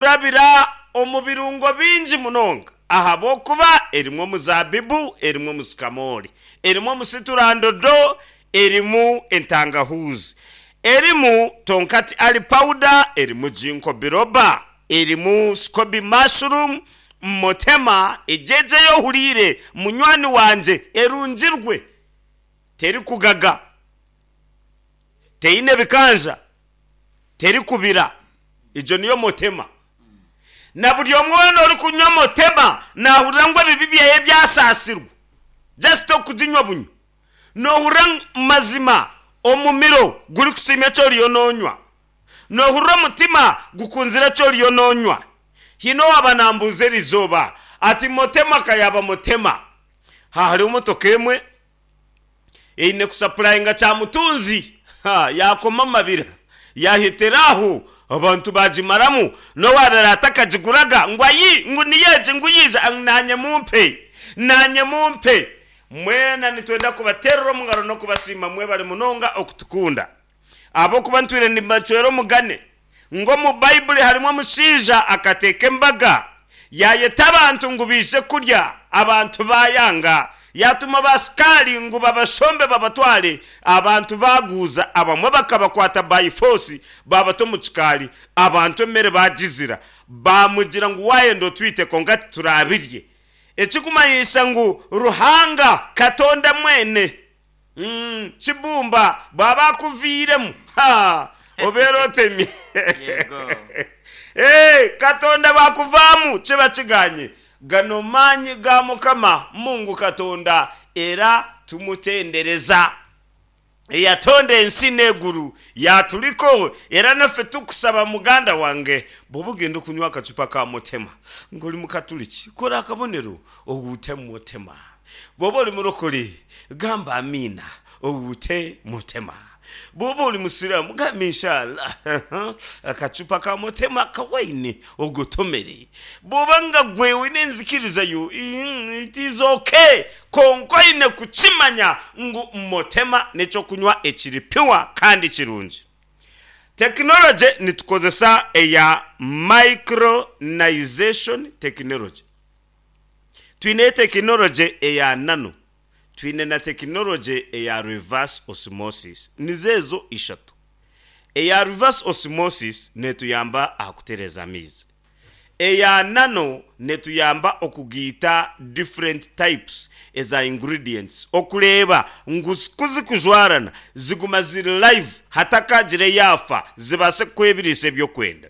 Erikurabira omu birungo bingi munonga ahabw'okuba erimu omuzaabibu, erimu omusikamoori, erimu omusiturandodo, erimu entangahuuzi, erimu tonkati ali pawuda, erimu ginkgo biloba, erimu sikobi mashurumu, motema, egyo ei ohuriire munywani wangye erungirwe, terikugaga, teine bikanja. Terikubira. Egyo niyo motema. Na buri omwe weena orikunywa motema naahurira ngu ebibi byeye byasaasirwa. Just okuginywa bunywa. Noohurira ngu mazima omumiro gurikusiima eki oriyo noonywa. Noohurira omutima gukunzire eki oriyo noonywa. Haine owaaba naambuuza erizooba ati motema ka yaaba motema. Hariho motoka emwe. Eine kusapurayinga kyamutunzi yaakoma amabira yaahetera aho abantu baagimaramu n'owaabaire atakagiguraga ngu ayi ngu niyo egi ngu yaija ngu naanye mumpe naanye mumpe. Mwena nitwenda kubateerera omu ngaro n'okubasiima mwebare munonga okutukunda ahabw'okuba ntwire nimbacwera omugane ngu omu Baibuli harimu omushaija akateeka embaga, yaayeta abantu ngu baije kurya, abantu baayanga. Yaatuma baasikaari ngu babashombe babatware, abantu baaguuza, abamwe bakabakwata by force baabata omu kikaari, abantu emere baagizira. Baamugira ngu waayenda otwite kwonka tituraabirye. Ekirikumanyisa ngu Ruhanga, Katonda mwene, Kibumba bwaba akuviiremu, ha, obeera otemye. Yego. Ee, Katonda bwakuvaamu kiba kiganye. Gano maanyi ga Mukama Mungu Katonda era tumutendereza. Eyatonda ensi n'eiguru yaaturiko era naffe tukusaba muganda wange bw'oba ogenda okunywa akacupa ka Mutema ng'ori Mukaturiki kora akabonero oguute Mutema. Bw'oba ori murokore, gamba Amiina, oguute Mutema. Bw'oba ori Musiraamu, gamba Inshallah, akacupa ka Mutema ka waini ogotomere. Bw'oba nga gwe oine enzikiriza yo, it is ok, kwonka oine kukimanya ngu Mutema n'eky'okunywa ekiri pure kandi kirungi. Tekinologye nitukozesa eya micronization technology. Twine tekinologye eya nano, twine na tekinologye eya reverse osmosis. Nizo ezo ishatu. Eya reverse osmosis neetuyamba aha kutereeza amaizi. Eya nano neetuyamba okugaita different types eza ingredients okureeba ngu ku zikujwarana ziguma ziri live hatakagira eyaafa zibaase kukuha ebiriisa ebi okwenda.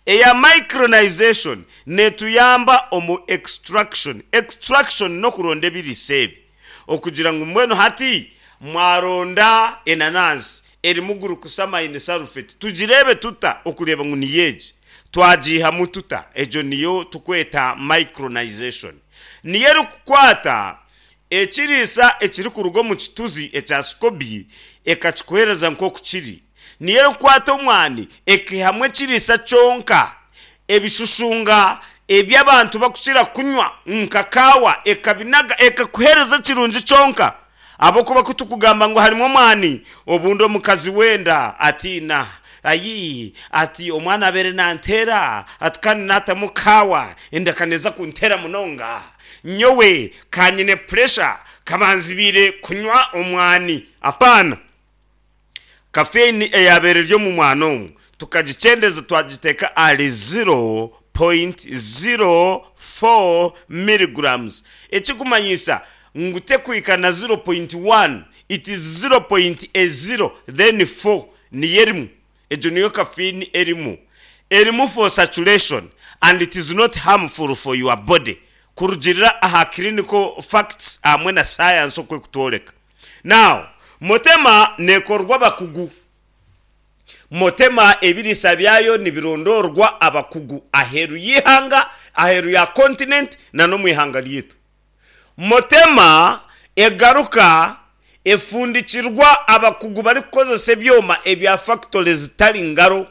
Eya micronization netuyamba omu extraction, extraction n'okuronda ebiriisa ebi okugira ngu mbwenu hati mwaronda enanansi erimu glucosamine sulfate tugireebe tuta okureeba ngu niyo egi, twagiihamu tuta? Egyo niyo tukweta micronization. Niyo erikukwata ekiriisa ekirikuruga omu kituzi ekya scoby ekakikuheereza nk'oku kiri. Niyo erikukwata omwani ekaihamu ekiriisa kyonka, ebishushunga ebi abantu barikukira kunywa nka kaawa ekabinaga ekakuheereza ekirungi kyonka. Ahabw'okuba ku turikugamba ngu harimu omwani, obundi omukazi w'enda atiina, Ayi, ati omwana abaire nanteera, ati kandi naatamu kaawa enda ka neeza kunteera munonga. Nyowe ka nyine puresha, kabanzibiire kunywa omwani. Apaana! Caffeine eyaabaire eri omu mwana omu tukagikyendeza twagiteeka ahari 0.04 milligrams, ekirikumanyisa ngu tekuhika na 0.1, it is 0.0 then 4 niyo erimu. Egyo niyo caffeine erimu. Erimu for saturation and it is not harmful for your body kurugiirira aha clinical facts hamwe na science oku ekutworeka. Now, Motema nekorwa abakugu. Motema ebiriisa byayo nibirondoorwa abakugu aheeru y'eihanga, aheeru ya continent na n'omu ihanga ryaitu. Motema egaruka efundikirwa abakugu barikukozesa ebyoma ebya factory zitari ngaro.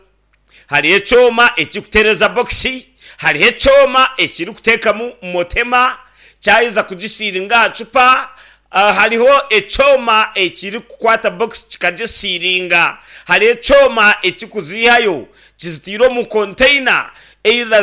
Hariho ekyoma ekirikutereeza bokisi, hariho ekyoma ekirikuteekamu motema kyaheza kugisiiringa aha cupa, hariho ekyoma ekirikukwata bokisi kikagisiiringa, hariho ekyoma ekirikuziihayo kizitaire omu konteyina either.